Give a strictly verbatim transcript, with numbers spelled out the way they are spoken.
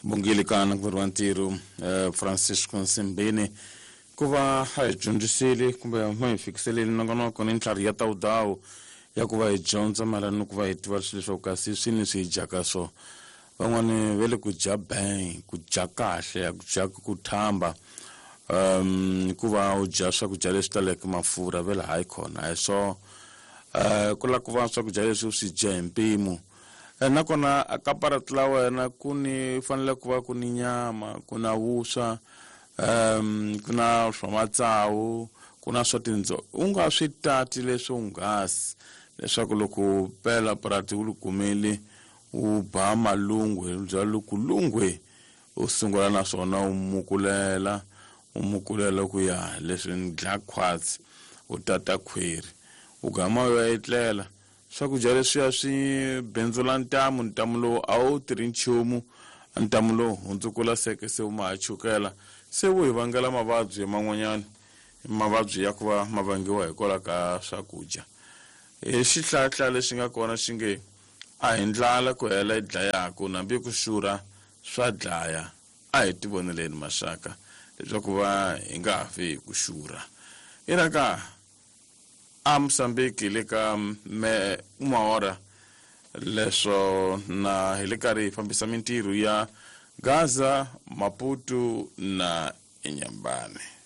Bongile ka nanguveri wa ntirho eh, Francisco Nsimbini ku va a hi dyondzisile kumbe ma hi fikiselile nongonoko ni ntlhari ya tawudawu ya ku va hi dyondza mayelana ni ku va hi tiva swilo leswaku kasi swini swi hi dyaka swo. Van'wani va le ku dya bang, ku dya kahle, ku dya ku thamba, um ku va u dya swakudya leswi taleke mafurha ve le hayi khona a hi swo. um ku lava ku va swakudya leswi u swi dya hi mpimo. Nakona ka parati la wena ku ni fanele ku va ku ni nyama, ku na vuswa, um ku na swa matsawu, ku na swa tindzo. U nga swi tati leswo nghasi leswaku loko pela parati u li kumile u ba malungwe, bya loko lungwe u sungula na swona u mukulela, u mukulela ku ya leswi ni dlaya khwatsi u tata khwiri u gama u ya etlela. Swakudya leswiya swi bindzula ntamu, ntamu lowu a wu tirhi nchumu, ntamu lowu hundzukula seke se wu ma ha chukela, se wu hi vangela mavabyi man'wanyana, mavabyi ya ku va ma vangiwa hikwalaho ka swakudya. Hi xihlahla lexi nga kona xi nge a hi ndlala ku hela yi dlayaku, nambi ku xurha swa dlaya. A hi tivoneleni maxaka leswaku va hi nga ha fi hi ku xurha. I ra ka a Mozambique le ka me Maora leswo na hi le karhi hi fambisa mintirho ya Gaza, Maputo na Inhambane.